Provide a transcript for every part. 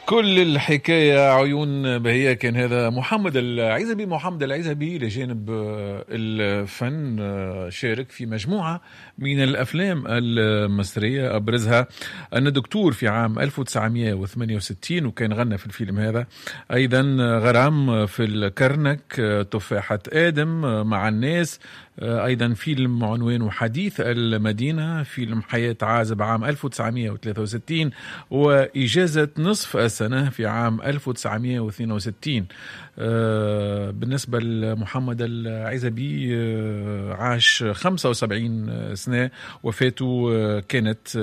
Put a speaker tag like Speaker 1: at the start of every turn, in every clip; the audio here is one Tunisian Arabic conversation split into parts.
Speaker 1: كل الحكاية عيون بهية. كان هذا محمد العزبي. محمد العزبي لجانب الفن شارك في مجموعة من الأفلام المصرية، أبرزها أن دكتور في عام 1968، وكان غنى في الفيلم هذا أيضا غرام في الكرنك، تفاحة آدم، مع الناس، أيضا فيلم عنوانه حديث المدينة، فيلم حياة عازب عام 1963، وإجازة نصف السنة في عام 1962. بالنسبة لمحمد العزبي عاش 75 سنة، وفاته كانت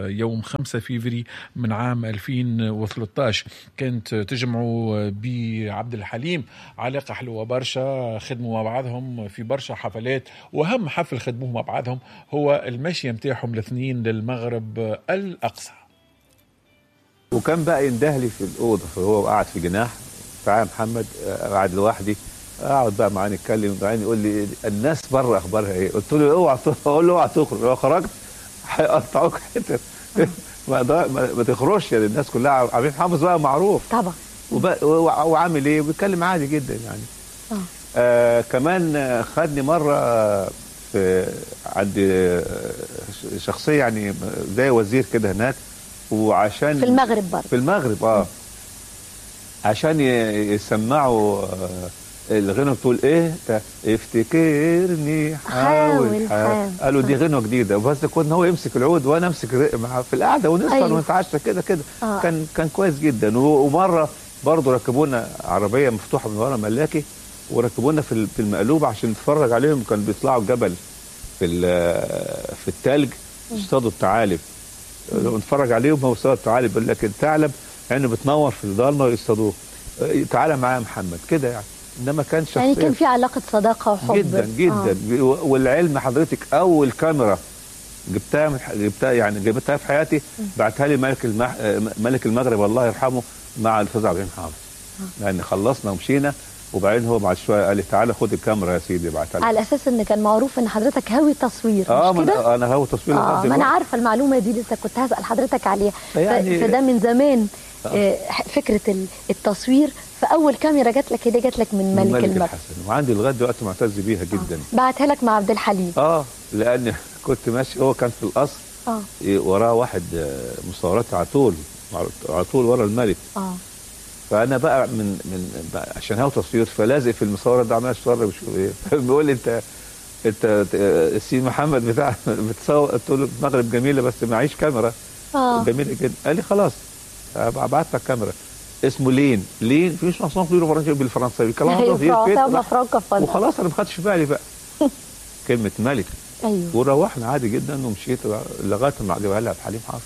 Speaker 1: يوم 5 فيفري من عام 2013. كانت تجمع بعبد الحليم علاقة حلوة برشا، خدموا مع بعضهم في برشا حفلات، وأهم حفل خدموه مع بعضهم هو المشي متاعهم الاثنين للمغرب الأقصى.
Speaker 2: وكان بقى يندهلي في الأوضة، فهو قاعد في جناح، تعالى محمد، قاعد لوحدي، اقعد بقى معاه نتكلم، بعدين يقول لي الناس بره اخبارها ايه؟ قلت له اوعى، اقول له اوعى تخرج، لو خرجت هيقطعوك حتت، ما تخرجش يعني، الناس كلها عاملين حافظ بقى معروف
Speaker 3: طبعا،
Speaker 2: وعامل ايه، وبيتكلم عادي جدا يعني. كمان خدني مرة في عند شخصية يعني زي وزير كده هناك، وعشان
Speaker 3: في المغرب برضه،
Speaker 2: في المغرب عشان يسمعوا الغنوه بتقول ايه، افتكرني حاول حاول، قالوا دي غنوه جديدة، بس كنا هو يمسك العود وانا امسك في القعدة ونسهر. أيوه. ونتعشى كده كده. كان كويس جدا. ومرة برضه ركبونا عربية مفتوحة من ورا ملاكي، وركبونا في المقلوب عشان نتفرج عليهم، كانوا بيطلعوا الجبل في الثلج يصطادوا الثعالب، ونتفرج عليهم هو يصطادوا الثعالب، يقول لك الثعلب عينه بتنور في الضلمة ويصطادوه، تعالى معايا يا محمد كده يعني. انما كان شخصية
Speaker 3: يعني كان في علاقة صداقه وحب
Speaker 2: جدا جدا. والعلم حضرتك اول كاميرا جبتها يعني جبتها في حياتي، بعتها لي ملك المغرب الله يرحمه مع الاستاذ عبد الحليم حافظ، لان خلصنا ومشينا، وبعدين هو بعد شوية قال لي تعالى خد الكاميرا يا سيدي، بعتها لي
Speaker 3: على اساس ان كان معروف ان حضرتك هاوي تصوير. مش كده؟
Speaker 2: انا هاوي تصوير.
Speaker 3: ما انا عارفه المعلومة دي، لسه كنت هسال حضرتك عليها يعني. فده من زمان. فكرة التصوير، فاول كاميرا جات لك هديه جات لك من ملك المغرب
Speaker 2: الحسن، وعندي لغاية دلوقتي معتز بيها جدا.
Speaker 3: بعتها لك مع عبد الحليم.
Speaker 2: لان كنت ماشي، هو كان في القصر، وراه واحد مصورات على طول على طول ورا الملك. فانا بقى من بقى عشان هو تصوير، فلازق في المصورة ده عمال اصور وشوف ايه، فبيقول لي انت السي محمد بتاع بتصور، قلت له المغرب جميلة بس معيش كاميرا. جميلة جدا. قال لي خلاص ابعت لك كاميرا، اسمه لين في chanson كبيرة بالفرنساوي،
Speaker 3: كلام
Speaker 2: وخلاص انا ما خدتش بالي بقى كلمة ملك.
Speaker 3: ايوه.
Speaker 2: وروحنا عادي جدا ومشيت لغاية ما جابها لها عبد الحليم حافظ.